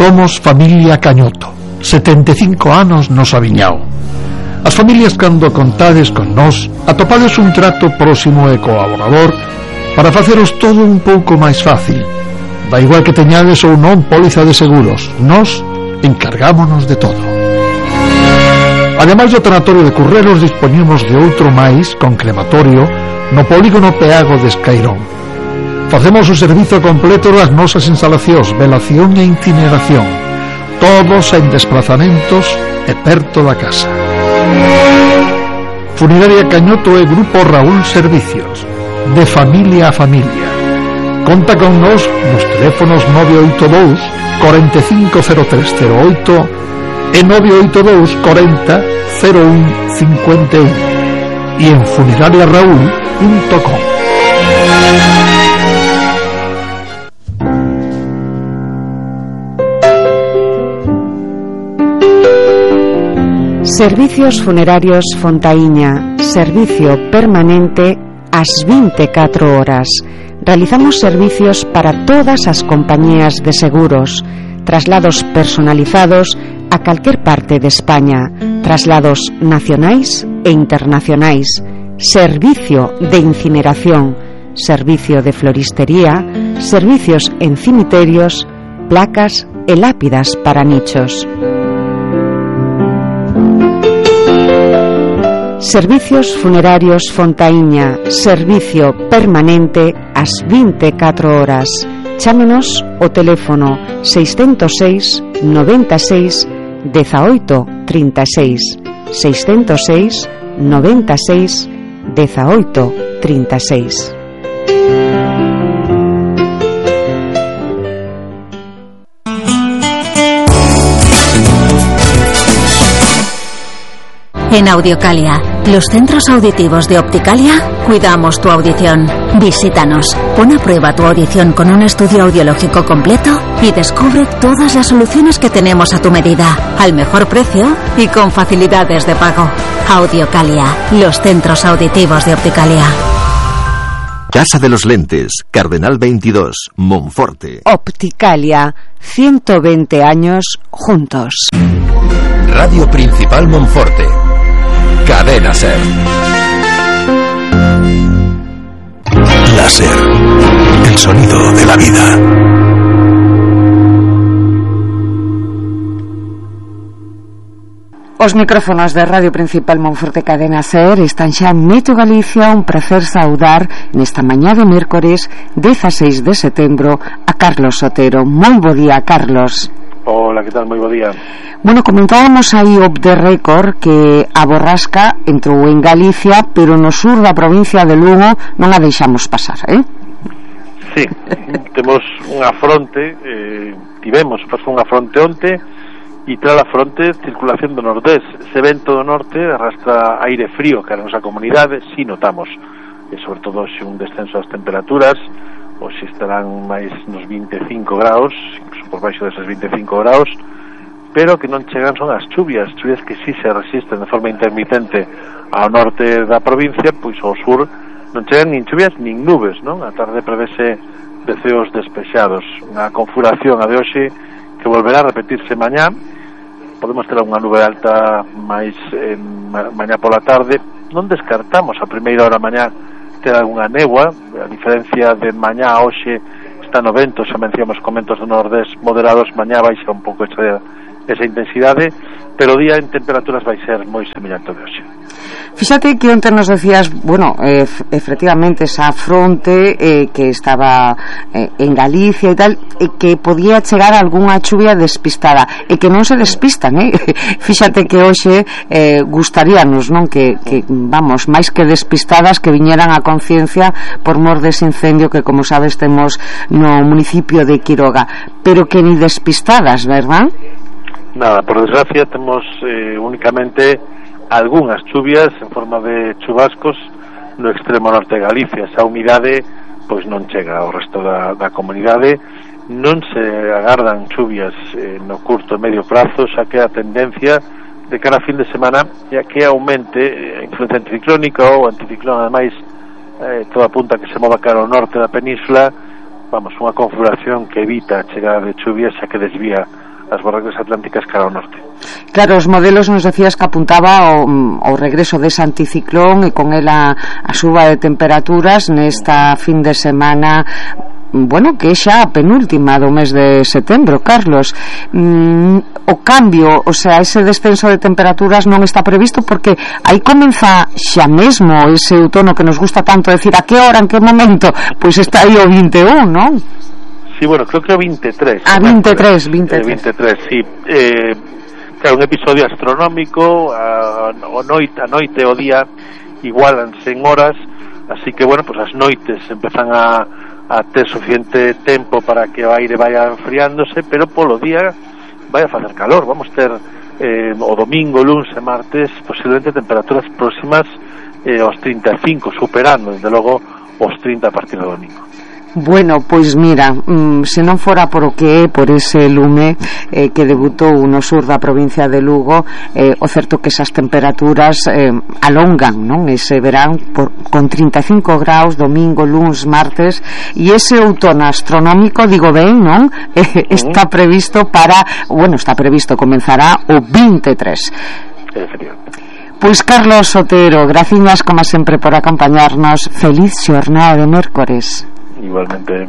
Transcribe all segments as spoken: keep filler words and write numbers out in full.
Somos familia Cañoto, setenta e cinco anos nos Aviñao. As familias, cando contades con nós, atopades un trato próximo e colaborador para faceros todo un pouco máis fácil. Da igual que teñades ou non póliza de seguros, nós encargámonos de todo. Ademais do tanatorio de Currelos, dispoñemos de outro máis con crematorio no polígono Peago de Escairón. Facemos o servizo completo das nosas instalacións, velación e incineración, todos en desplazamentos e perto da casa. Funeraria Cañoto e Grupo Raúl Servicios, de familia a familia. Conta con nos nos teléfonos nove oito dous, cuarenta e cinco cero tres cero oito e nove oito dous, cuarenta cero un cincuenta y uno e en funeraria raúl punto com. Servicios Funerarios Fontaíña, servicio permanente ás vinte e catro horas. Realizamos servicios para todas as compañías de seguros, traslados personalizados a calquer parte de España, traslados nacionais e internacionais, servicio de incineración, servicio de floristería, servicios en cimiterios, placas e lápidas para nichos. Servicios Funerarios Fontaíña, servicio permanente ás vinte e catro horas. Chámenos o teléfono seiscentos seis, noventa e seis, dezaoito, trinta e seis, seiscentos seis, noventa e seis, dezaoito, trinta e seis. En Audiocalia, los centros auditivos de Opticalia, cuidamos tu audición. Visítanos, pon a prueba tu audición con un estudio audiológico completo y descubre todas las soluciones que tenemos a tu medida, al mejor precio y con facilidades de pago. Audiocalia, los centros auditivos de Opticalia. Casa de los Lentes, Cardenal veintidós, Monforte. Opticalia, ciento veinte años juntos. Radio Principal Monforte. Cadena SER. La SER, el sonido de la vida. Os micrófonos de Radio Principal Monforte Cadena SER están xa en Meto Galicia. Un prazer saudar nesta mañá de mércores dezasseis de setembro a Carlos Sotero. Moi bo día, Carlos. Hola, que tal? Moi bo día. Bueno, comentábamos aí off the record que a borrasca entrou en Galicia, pero no sur da provincia de Lugo non a deixamos pasar, eh? Sí, temos unha fronte, eh, tivemos pasou unha fronte onte e tras a fronte circulación do nordés. Ese vento do norte arrastra aire frío que a nosa comunidade, si notamos, e sobre todo xe un descenso das temperaturas, ou se estarán máis nos vinte e cinco graus, incluso por baixo deses vinte e cinco graus, pero que non chegan son as chuvias, chuvias que si se resisten de forma intermitente ao norte da provincia, pois ao sur non chegan nin chuvias nin nubes, non? A tarde prevese de ceos despexados, unha configuración a de hoxe que volverá a repetirse mañá. Podemos ter unha nube alta máis eh, mañá pola tarde. Non descartamos a primeira hora mañá ter algunha negua, a diferencia de mañá a hoxe está no vento, xa mencionamos comentos do nordés moderados, mañá baixa un pouco esa, esa intensidade, pero o día en temperaturas vai ser moi semellante ao de hoxe. Fíxate que onte nos decías, bueno, eh, efectivamente esa fronte eh, que estaba eh, en Galicia e tal, e que podía chegar algunha chuvia despistada, e que non se despistan, eh? Fíxate que hoxe eh, gustaríanos, non, que, que vamos, máis que despistadas, que viñeran a conciencia por mor dese incendio que, como sabes, temos no municipio de Quiroga, pero que ni despistadas, verdad? Nada, por desgracia temos eh, únicamente algunhas chuvias en forma de chubascos no extremo norte de Galicia. Esa humidade pois non chega ao resto da, da comunidade. Non se agardan chuvias eh, no curto e medio prazo, xa que a tendencia de cara a fin de semana é que aumente a influencia anticiclónica ou anticiclón, ademais eh, toda apunta que se mova cara ao norte da península. Vamos, unha configuración que evita a chegada de chuvias, xa que desvía as borrascas atlánticas cara ao norte. Claro, os modelos nos decías que apuntaba ao, ao regreso dese anticiclón e con ela a suba de temperaturas nesta fin de semana, bueno, que é xa a penúltima do mes de setembro, Carlos. Mm, o cambio, o sea, ese descenso de temperaturas non está previsto porque aí comeza xa mesmo ese outono que nos gusta tanto decir, a que hora, en que momento? Pois está aí o vinte e un, non? Sí, bueno, creo que o vinte e tres. Ah, vinte e tres, vinte e tres. Eh, vinte e tres, sí. Eh, claro, un episodio astronómico, a, a noite, a noite e o día igualanse en horas, así que, bueno, pues as noites empezan a a ter suficiente tempo para que o aire vaya enfriándose, pero polo día vai a facer calor. Vamos ter eh, o domingo, luns e martes posiblemente temperaturas próximas eh, aos trinta e cinco, superando desde logo os trinta a partir do domingo. Bueno, pois mira, mm, se non fora por o que é, por ese lume eh, que debutou no sur da provincia de Lugo, eh, o certo que esas temperaturas eh, alongan, non? Ese verán por, con trinta e cinco graus domingo, luns, martes, e ese outono astronómico, digo ben, non? Eh, está previsto para, bueno, está previsto, comenzará o vinte e tres. Pois Carlos Otero, graciñas como sempre por acompañarnos. Feliz xornada de mércores. Igualmente.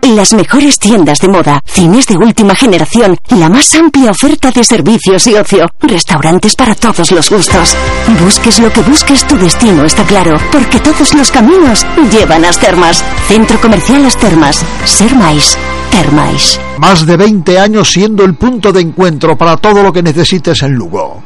Las mejores tiendas de moda, cines de última generación, la más amplia oferta de servicios y ocio, restaurantes para todos los gustos. Busques lo que busques, tu destino está claro, porque todos los caminos llevan a As Termas. Centro Comercial As Termas. Ser máis. Termais. Más de veinte años siendo el punto de encuentro para todo lo que necesites en Lugo.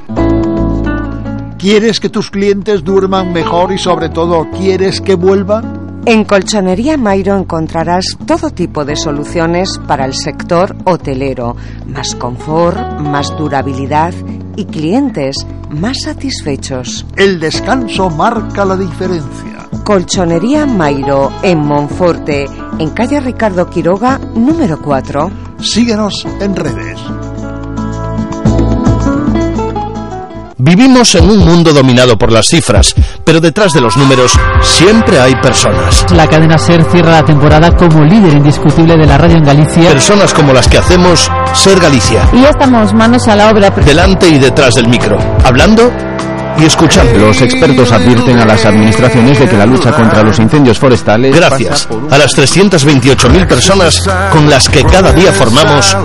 ¿Quieres que tus clientes duerman mejor y sobre todo quieres que vuelvan? En Colchonería Mairo encontrarás todo tipo de soluciones para el sector hotelero, más confort, más durabilidad y clientes más satisfechos. El descanso marca la diferencia. Colchonería Mairo en Monforte, en calle Ricardo Quiroga, número cuatro. Síguenos en redes. Vivimos en un mundo dominado por las cifras, pero detrás de los números siempre hay personas. La cadena SER cierra la temporada como líder indiscutible de la radio en Galicia. Personas como las que hacemos Ser Galicia. Y ya estamos manos a la obra. Delante y detrás del micro, hablando y escuchando. Los expertos advierten a las administraciones de que la lucha contra los incendios forestales... Gracias a las trescientas veintiocho mil personas con las que cada día formamos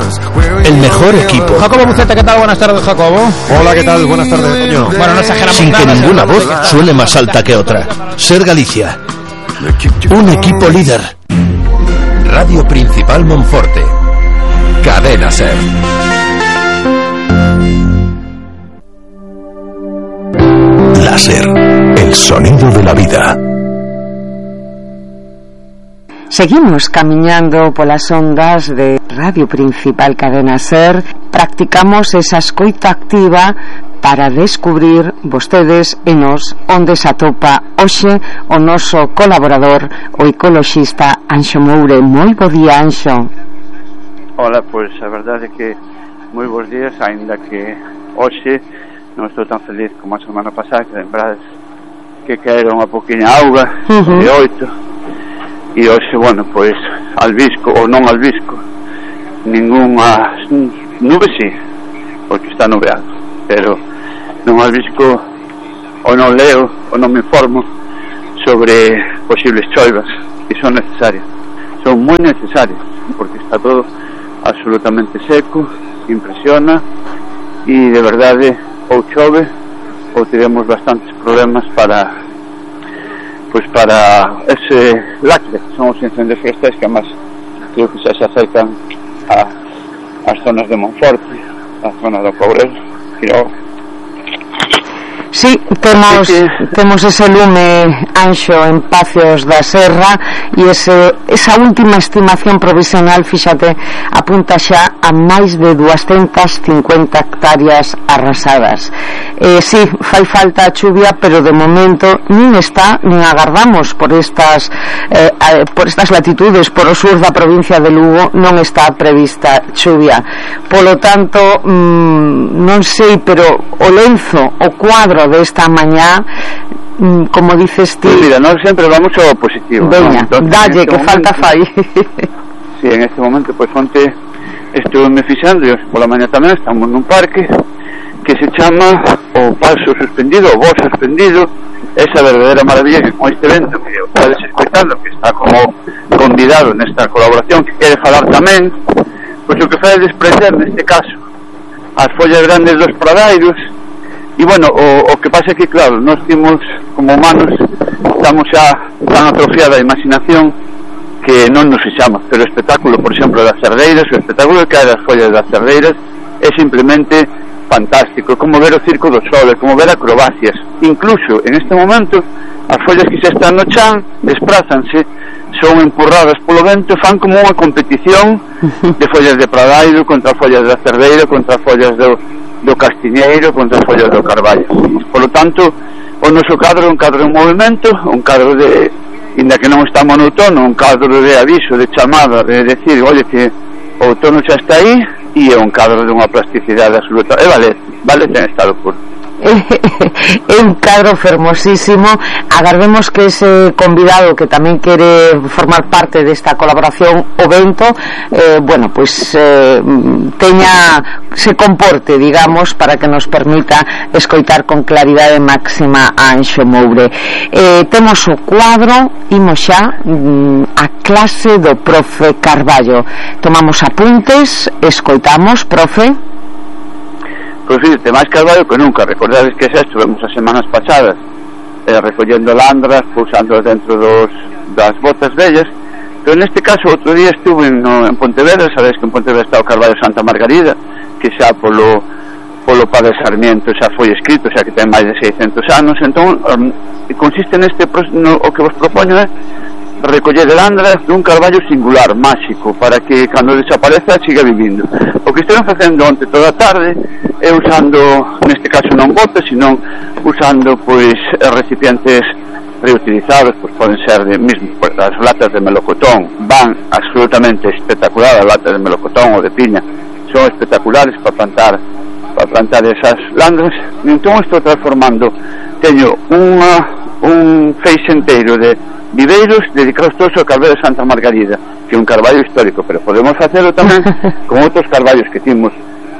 el mejor equipo. Jacobo Buceta, ¿qué tal? Buenas tardes, Jacobo. Hola, ¿qué tal? Buenas tardes, Toño. Bueno, no exageramos. Sin que ninguna voz suene más alta que otra. Ser Galicia. Un equipo líder. Radio Principal Monforte. Cadena SER. Láser, el sonido de la vida. Seguimos camiñando polas ondas de Radio Principal Cadena SER. Practicamos esa escoita activa para descubrir vostedes e nos onde se atopa hoxe o noso colaborador, o ecoloxista Anxo Moure. Moi bo día, Anxo. Hola, pois a verdade é que moi bons días, aínda que hoxe non estou tan feliz como a semana pasada, que lembrades que caeron a poquinha auga, uh-huh. de oito, e hoxe, bueno, pois albisco ou non albisco ningunha nube, sí, porque está nubeado, pero non albisco ou non leo ou non me informo sobre posibles choivas que son necesarias, son moi necesarias, porque está todo absolutamente seco, impresiona, e de verdade ou chove ou tivemos bastantes problemas para pois para ese lacre, son os incendios forestais que además creo que xa se acercan a as zonas de Monforte, a zona do Courel, Quiroga. Sí, temos que... temos ese lume, Anxo, en Pacios da Serra, e ese, esa última estimación provisional, fíxate, apunta xa a máis de doscientas cincuenta hectáreas arrasadas. Eh, sí, fai falta a chuvia, pero de momento nin está, nin agardamos por estas eh, por estas latitudes, por o sur da provincia de Lugo non está prevista chuvia. Polo tanto, mmm, non sei, pero o lenzo, o cuadro desta mañá, mmm, como dices ti, pues mira, nós sempre vamos ao positivo. Veña, ¿no? Dalle, este que momento, falta fai. Sí, en este momento, pois pues, onte estuve me fixando, e pola mañá tamén estamos nun parque que se chama o Paso Suspendido, o Voo Suspendido, esa verdadeira maravilla que con este evento que podes escoitando, que está como convidado nesta colaboración, que quere falar tamén, pois o que fai é desprender neste caso as follas grandes dos pradairos. E bueno, o, o que pasa é que claro, nós temos como humanos estamos xa tan atrofiada a imaginación que non nos fixamos, pero o espectáculo, por exemplo, das cerdeiras, o espectáculo que hai das follas das cerdeiras é simplemente fantástico, é como ver o Circo do Sol, é como ver acrobacias. Incluso en este momento as follas que xa están no chan desprázanse, son empurradas polo vento, fan como unha competición de follas de pradairo contra follas da cerdeira, contra follas do, do castiñeiro, contra follas do carballo. Por lo tanto, o noso cadro é un cadro en movimento, un cadro de, inda que non estamos no outono, un cadro de aviso, de chamada, de decir, oye, que o outono xa está aí, e é un cadro de unha plasticidade absoluta. E vale, vale ten estado puro. É un cadro fermosísimo. Agardemos que ese convidado que tamén quere formar parte desta colaboración o vento, eh, bueno, pois eh, teña, se comporte, digamos, para que nos permita escoitar con claridade máxima a Anxo Moure. Eh, temos o cuadro, imos xa mm, a clase do profe Carballo. Tomamos apuntes, escoitamos, profe. Pois fíjate, máis Carballo que nunca. Recordades que xa estuvemos as semanas pasadas eh, recollendo landras, pousándolas dentro dos, das botas vellas, pero neste caso outro día estuve no, en Pontevedra. Sabes que en Pontevedra está o Carballo Santa Margarida, que xa polo polo Padre Sarmiento xa foi escrito, xa que ten máis de seiscentos anos. Entón, um, consiste neste no, o que vos propoño é recoller landras dun carballo singular, máxico, para que cando desapareza siga vivindo. O que estiven facendo onte toda a tarde é usando, neste caso non botes, sino usando pois recipientes reutilizados, pois poden ser de mismo, pues, as latas de melocotón van absolutamente espectacular, as latas de melocotón ou de piña son espectaculares para plantar para plantar esas landras. E entón estou transformando, teño unha, un feixe enteiro de viveiros dedicados todos ao Carballo de Santa Margarida, que é un carballo histórico, pero podemos facelo tamén con outros carballos que timos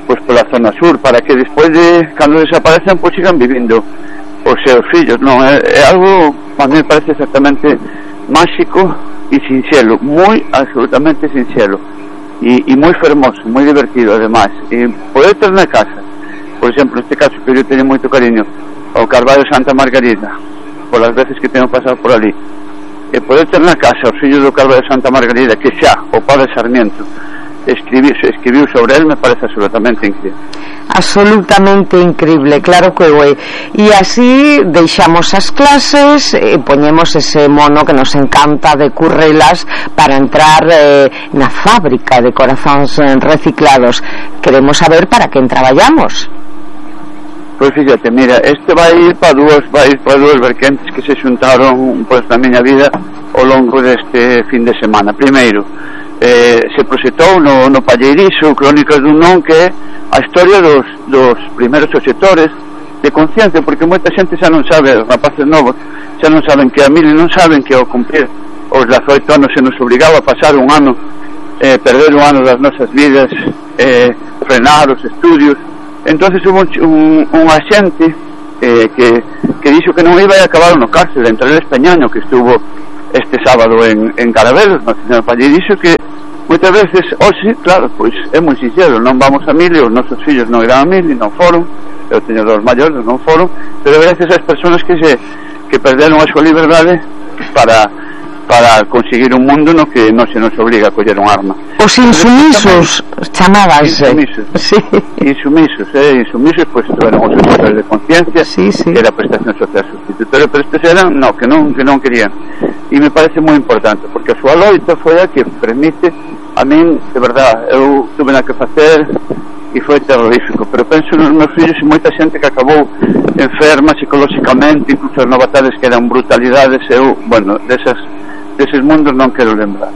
pois pola zona sur, para que despois de cando desaparecen pois sigan vivindo os seus fillos. Non, é, é algo a mí me parece exactamente máxico e sinxelo, moi absolutamente sinxelo e, e moi fermoso, moi divertido ademais. E poder ter na casa, por exemplo, neste caso que eu teño moito cariño ao Carballo Santa Margarida, polas veces que teño pasado por ali, e poder ter na casa os fillos do Carballo de Santa Margarida, que xa o Padre Sarmiento escribiu, escribiu sobre él, me parece absolutamente increíble. Absolutamente increíble, claro que é. E así deixamos as clases e poñemos ese mono que nos encanta de Currelas para entrar eh, na fábrica de corazóns reciclados. Queremos saber para quen traballamos. Pois fíjate, mira, este vai ir para dúas, vai ir para dúas vertentes que se xuntaron pois na miña vida ao longo deste fin de semana. Primeiro, eh, se proxectou no, no Palleirizo Crónicas dun Non, que é a historia dos, dos primeiros obxectores de conciencia, porque moita xente xa non sabe, rapaces novos xa non saben que a mil non saben que ao cumplir os dezaoito anos se nos obligaba a pasar un ano, eh, perder un ano das nosas vidas, eh, frenar os estudios. Entonces hubo un, un, un axente eh, que, que dixo que non iba a acabar no cárcel entre el Españaño, que estuvo este sábado en, en Carabelos, no señor Palle, dixo que moitas veces, hoxe, claro, pois é moi sincero, non vamos a mil e os nosos fillos non irán a mil e non foron, eu teño dos maiores, non foron, pero gracias ás persoas que se que perderon a súa liberdade para para conseguir un mundo no que non se nos obliga a coller un arma. Os insumisos chamábanse. Insumisos, sí. Insumisos, eh, insumisos, pois pues, eran os obxectores de conciencia, sí, sí. Que era prestación social sustitutoria, pero estes eran, no, que non, que non querían. E me parece moi importante, porque a súa loita foi a que permite, a min, de verdad, eu tuve na que facer e foi terrorífico, pero penso nos meus fillos e moita xente que acabou enferma psicolóxicamente, incluso as novatades que eran brutalidades. Eu, bueno, desas, deses mundos non quero lembrar.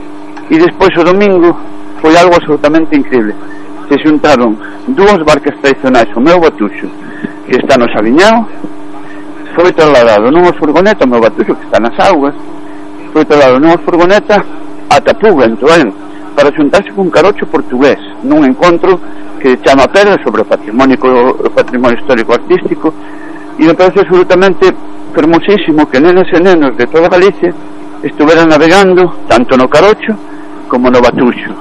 E despois o domingo foi algo absolutamente increíble. Se xuntaron dúas barcas tradicionais, o meu Batuxo, que está no Sabiñao, foi trasladado nunha furgoneta, o meu Batuxo, que está nas augas, foi trasladado nunha furgoneta ata Puga, en Toén, para xuntarse con carocho portugués, nun encontro que chama Pedra sobre o patrimonio, o patrimonio histórico artístico, e me parece absolutamente fermosísimo que nenas e nenos de toda Galicia estuveran navegando tanto no carocho como no Batuxo,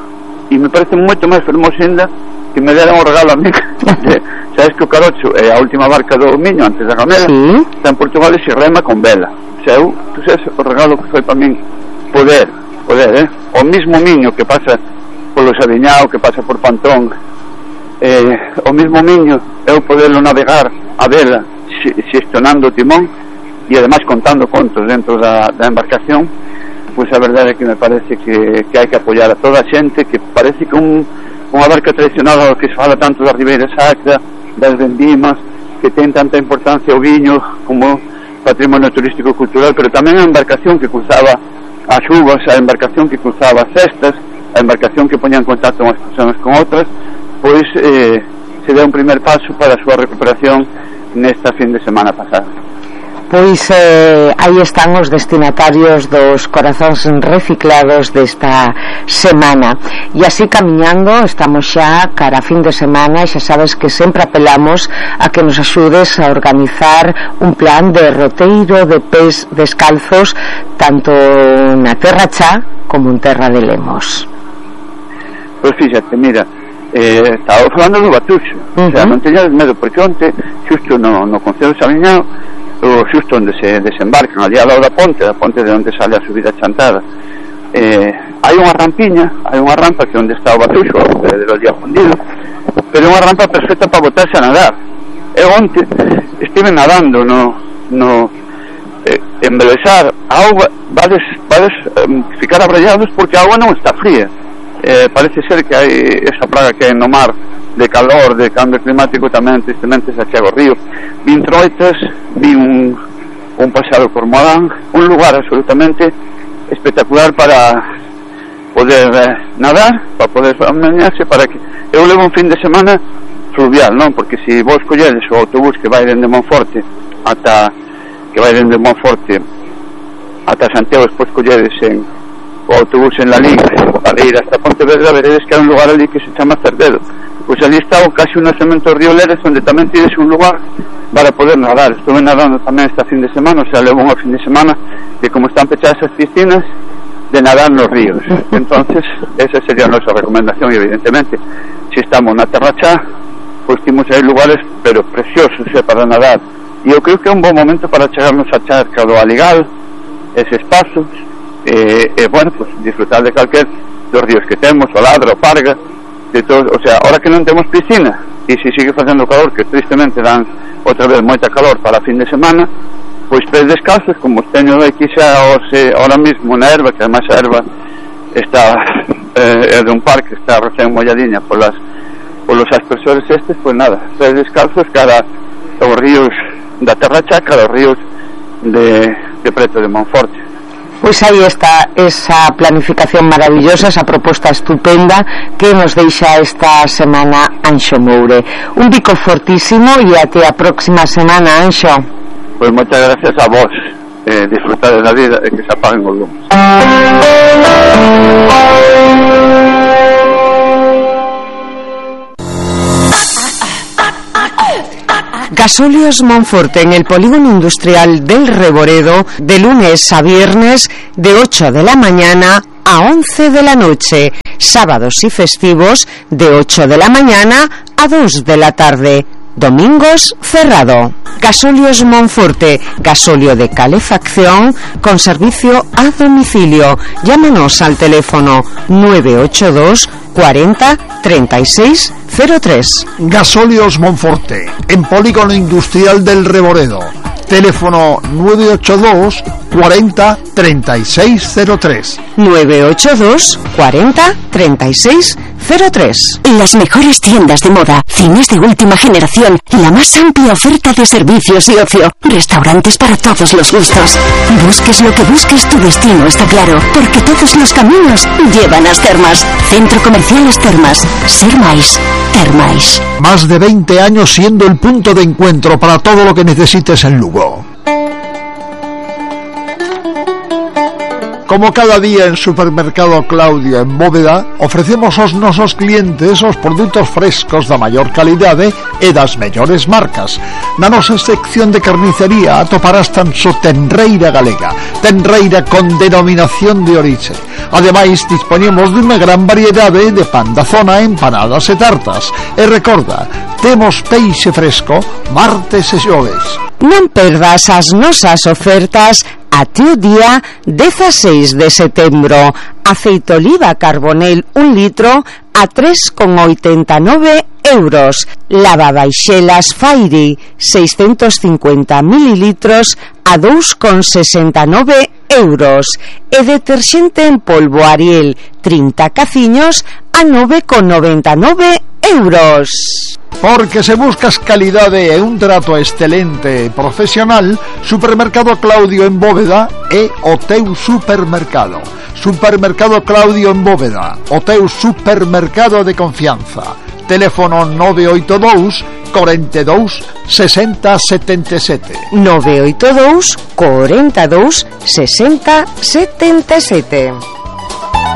e me parece moito máis fermoso ainda que me deran o regalo a mí de, sabes que o carocho é a última barca do Miño antes da Gamela, sí. Está en Portugal e se rema con vela. O sea, eu, tu sabes o regalo que foi para min poder, poder, eh? O mismo Miño que pasa polo Sabiñao, que pasa por Pantón, eh, o mismo Miño eu poderlo navegar a vela xestionando o timón e ademais contando contos dentro da, da embarcación. Pois a verdade é que me parece que, que hai que apoiar a toda a xente, que parece que un, unha barca tradicional que se fala tanto da Ribeira Sacra, das vendimas, que ten tanta importancia o viño como patrimonio turístico cultural, pero tamén a embarcación que cruzaba as uvas, a embarcación que cruzaba as cestas, a embarcación que poña en contacto unhas persoas con outras, pois eh, se dá un primer paso para a súa recuperación nesta fin de semana pasada. Pois eh, aí están os destinatarios dos corazóns reciclados desta semana. E así camiñando, estamos xa cara a fin de semana, e xa sabes que sempre apelamos a que nos axudes a organizar un plan de roteiro de pés descalzos tanto na Terra Chá como en Terra de Lemos. Pois fíxate, mira, eh, estaba falando do Batuxo, uh-huh. O sea, non teñades medo, porque onte, xusto no, no Concello de Sabiñao, o xusto onde se desembarcan ali ao lado da ponte, da ponte de onde sale a subida chantada, eh, hai unha rampiña, hai unha rampa que onde está o Batuxo, o verdadeiro día fundido, pero é unha rampa perfecta para botarse a nadar. Eu onte estive nadando no, no eh, embelezar a auga, vades, vades eh, ficar abrallados porque a auga non está fría. Eh, parece ser que hai esa praga que hai no mar de calor, de cambio climático, tamén tristemente se achega o río. Vin troitas, vi un, un pasado cormorán, un lugar absolutamente espectacular para poder eh, nadar, para poder bañarse, para que eu levo un fin de semana fluvial, non? Porque se vos colledes o autobús que vai dende Monforte ata que vai dende Monforte ata Santiago, despois colledes en o autobús en la Liga, para ir hasta Pontevedra, veredes que hai un lugar ali que se chama Cerdedo. Pois ali está o casi un nacemento do río Leres, onde tamén tienes un lugar para poder nadar. Estuve nadando tamén esta fin de semana, o sea, levo unha fin de semana que como están pechadas as piscinas, de nadar nos ríos. Entonces, esa sería a nosa recomendación, e evidentemente, se estamos na Terra Chá, pois temos aí lugares, pero preciosos, eh, para nadar. E eu creo que é un bom momento para chegarnos a charca do Aligal, eses pasos, e, e bueno, pues disfrutar de calquer dos ríos que temos, o Ladra, o Parga, de todo, o sea, ahora que non temos piscina e se sigue facendo calor, que tristemente dan outra vez moita calor para a fin de semana, pois pés descalzos, como os teño aquí xa ose, ahora mismo na erva, que además a erva está eh, é de un parque, está recén molladiña polas, polos aspersores estes, pois nada, pés descalzos cara aos ríos da Terra Chá, cara aos ríos de, de preto de Monforte. Pois aí está esa planificación maravillosa, esa proposta estupenda que nos deixa esta semana Anxo Moure. Un bico fortísimo e até a próxima semana, Anxo. Pois moitas gracias a vos, eh, disfrutar da vida e que se apaguen os lumes. Gasóleos Monforte en el polígono industrial del Reboredo, de lunes a viernes de ocho de la mañana a once de la noche, sábados y festivos de ocho de la mañana a dos de la tarde, domingos cerrado. Gasóleos Monforte, gasóleo de calefacción con servicio a domicilio. Llámanos al teléfono nueve ocho dos cuarenta treinta y seis cero tres. Gasóleos Monforte, en polígono industrial del Reboredo. Teléfono nueve ocho dos cuarenta treinta y seis cero tres. nueve ocho dos cuarenta treinta y seis cero tres. Las mejores tiendas de moda, cines de última generación, la más amplia oferta de servicios y ocio, restaurantes para todos los gustos. Busques lo que busques, tu destino está claro, porque todos los caminos llevan a As Termas. Centro Comercial As Termas. Ser máis, ter máis. Más de veinte años siendo el punto de encuentro para todo lo que necesites en Lugo. Como cada día en Supermercado Claudio en Bóveda, ofrecemos aos nosos clientes os produtos frescos da maior calidade e das mellores marcas. Na nosa sección de carnicería atoparás tan só tenreira galega, tenreira con denominación de orixe. Ademais, dispoñemos dunha gran variedade de pan da zona, empanadas e tartas. E recorda, temos peixe fresco martes e xoves. Non perdas as nosas ofertas até o día dieciséis de setembro. Aceite oliva Carbonel un litro a tres con oitenta e nove euros. Lavabaixelas Fairy seiscentos cincuenta mililitros a dous con sesenta e nove euros. E deterxente en polvo Ariel trinta caciños a nove con noventa e nove euros. Porque se buscas calidade e un trato excelente e profesional, Supermercado Claudio en Bóveda é o teu supermercado. Supermercado Claudio en Bóveda, o teu supermercado de confianza. Teléfono nove oito dous, cuarenta y dos, sesenta, setenta y siete. nove oito dous, cuarenta y dos, sesenta, setenta y siete.